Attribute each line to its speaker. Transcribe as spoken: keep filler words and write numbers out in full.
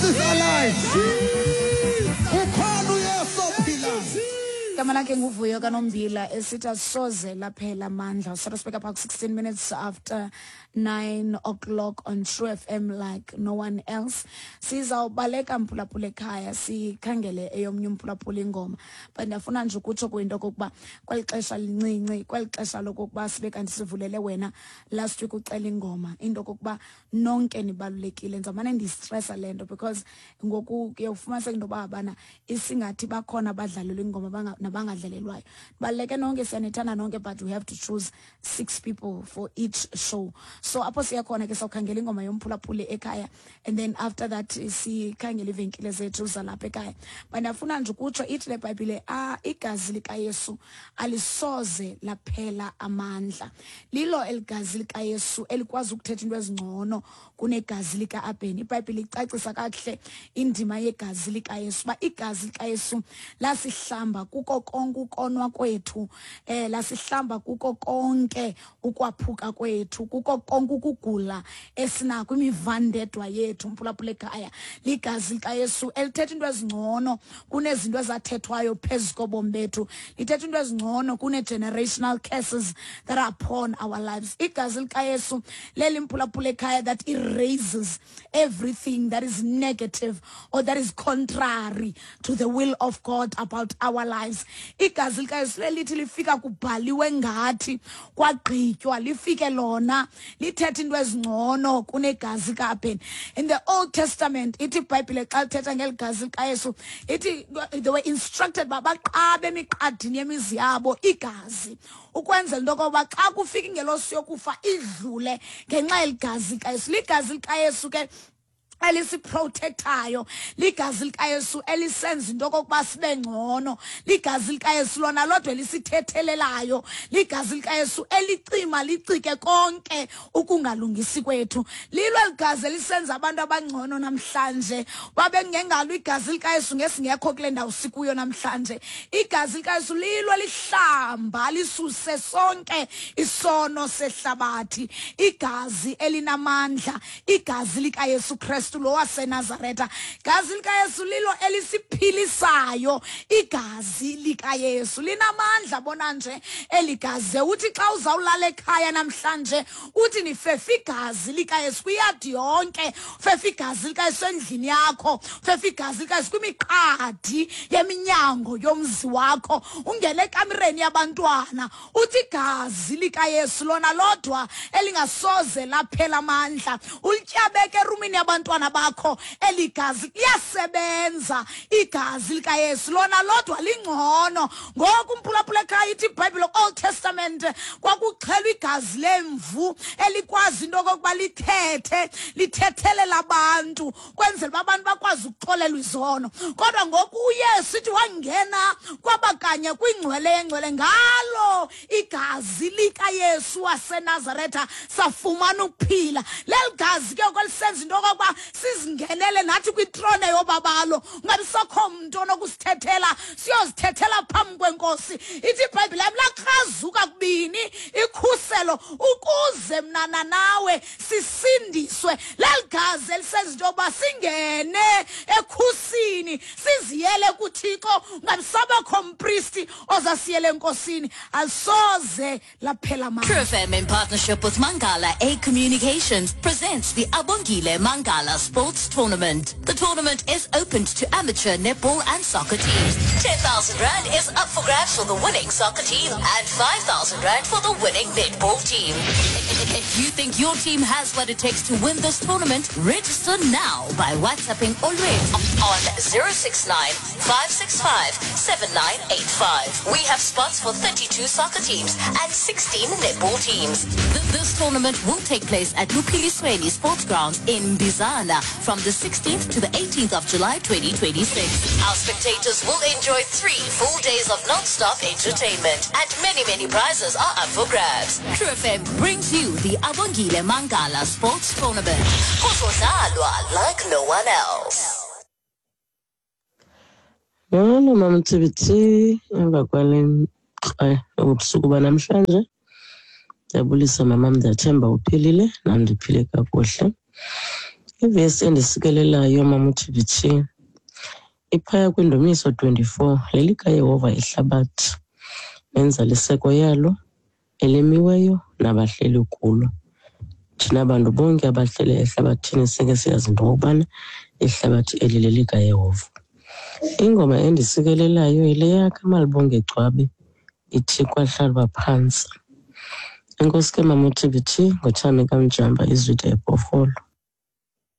Speaker 1: is alive. Ukhona uYesu ophilayo.
Speaker 2: Igama lakhe nguVuyo kaNombila, esithi asoze laphela amandla. So speak about sixteen minutes after nine o'clock on True F M like no one else. Sizawubaleka, mphulaphula ekhaya, sikhangele eyomnye umphulaphula ingoma, but ndiyafuna nje ukutsho kwinto okokuba kweli xesha lincinci, kweli xesha lokokuba sibe kanti sivulele wena last week ucela ingoma, into okokuba nonke nibalulekile. Ndizawumane ndiyistresa le nto because ngoku kuye ufumaniseke into yoba bana isingathi bakhona abadlalelwa ingoma banga- nabangadlalelwayo. Baluleke nonke, siyanithanda nonke, but we have to choose six people for each show. So apho siya khona ke, sawukhangela ingoma yomphulaphuli ekhaya and then after that sikhangele iivenkile zethu zalapha ekhaya. But ndiyafuna nje ukutsho, ithi le Bhayibhile, ah, igazi likaYesu alisoze laphela amandla. Lilo eligazi likaYesu elikwazi ukuthetha into ezingcono kunegazi lika-Abheni. IBhayibhile icacisa kakuhle indima yegazi likaYesu, uba igazi likaYesu lasihlamba kuko konke ukonwa kwethu, eh lasihlamba kuko konke ukwaphuka kwethu, kuko konke ukugula esinako, imivandedwa yethu. Mphulaphula ekhaya, ligazi likaYesu elithetha into ezingcono kunezinto ezathethwayo phezu kobomi bethu, lithetha into ezingcono kune-generational curses that are upon our lives. Igazi likaYesu leli, mphulaphula ekhaya, that erases everything that is negative or that is contrary to the will of God about our lives. Igazi likaYesu lelithi lifika kubhaliwe ngathi, kwagqitywa, lifike lona lithetha into ezingcono kunegazi kaAbheni. In the Old Testament, ithi iBhayibhile xa lithetha ngeli gazi likaYesu, ithi they were instructed uba baqabe emiqadini yemizi yabo igazi ukwenzela into yokokuba xa kufika ingelosi yokufa idlule ngenxa yeligazi likaYesu. Ligazi likaYesu ke elisiprotectayo, ligazi likaYesu elisenza into okokuba sibe ngcono, ligazi likaYesu lona lodwa elisithethelelayo, ligazi likaYesu elicima licike konke ukungalungisi kwethu. Lilo ligazi elisenza abantu abangcono namhlanje. Babe kungengalo igazi likaYesu, ngesingekho kule ndawo sikuyo namhlanje. Igazi likaYesu lilo lihlamba lisuse sonke isono sehlabathi. Igazi elinamandla, igazi likaYesu Kristu lo waseNazaretha. Igazi likaYesu lilo elisiphilisayo. Igazi likaYesu linamandla. Bona nje eligazi, uthi xa uzawulala ekhaya namhlanje, uthi nifefe igazi likaYesu kwiyadi yonke, fefe igazi likaYesu endlini yakho, fefe igazi likaYesu kwimiqadi yeminyango yomzi wakho, ungene ekamireni yabantwana, uthi igazi likaYesu lona lodwa elingasoze laphela amandla, ulityabeke erumini yabantwana bakho. Eligazi liyasebenza. Igazi likaYesu lona lodwa lingcono. Ngoku, umphulaphula ekhaya, ithi iBhayibhile, Old Testament, kwakuxhelwa igazi lemvu elikwazi into okokuba lithethe, lithethelela abantu kwenzela uba abantu bakwazi ukuxolelwa izono. Kodwa ngoku uYesu, ithi wangena kwabakanye kwingcwele yengcwele ngalo igazi likaYesu waseNazaretha, safumana ukuphila. Leli gazi ke kwelisenza into okokuba sizingenele nathi kwitrone yobabalo, ungabi sokho mntu onokusithethela, siyozithethela phambi kweNkosi. Ithi iBhayibhile yam lakrazuka kubini ikhuselo ukuze mnana nawe sisindiswe. Leli gazi elisenza into yokuba singene ekhusini, siziyele kuThixo, ungabi sabakho mpristi ozasiyele eNkosini. Alisoze laphela amandla.
Speaker 3: True F M, in partnership with Mangala A Communications, presents the Abongile Mangala Sports Tournament. The tournament is open to amateur netball and soccer teams. ten thousand Rand is up for grabs for the winning soccer team and five thousand Rand for the winning netball team. If you think your team has what it takes to win this tournament, register now by WhatsApping Olwethu on zero six nine five six five seven nine eight five. We have spots for thirty-two soccer teams and sixteen netball teams. Th- This tournament will take place at Luphilisweni Sports Grounds in Bizana from the sixteenth to the eighteenth of July twenty twenty-six. Our spectators will enjoy three full days of non-stop entertainment, and many, many prizes are up for grabs. True F M brings you the Abongile Mangala Sports Tournament. Kuzodlalwa like no one else.
Speaker 4: Molo, Mama Mthibiti, emva kwale ubusuku banamhlanje. Ndiyabulisa, mamam, ndiyathemba uphilile, nam ndiphile kakuhle. Ivesi endisikelelayo, Mama uT B T, iphaya kwiNdumiso twenty-four: "LelikaYehova ihlabathi nenzaliseko yalo, elimiweyo nabahleli kulo." Thina bantu bonke abahleli ehlabathini sike siyazi into okokubana ihlabathi eli lelikaYehova. Ingoma endisikelelayo yile yakaMalibongwe Gcwabe ithi "Kwahlalwa Phantsi". Enkosi ke, Mama uT B T, ngoThami kaMjamba, Izwide eBhofolo.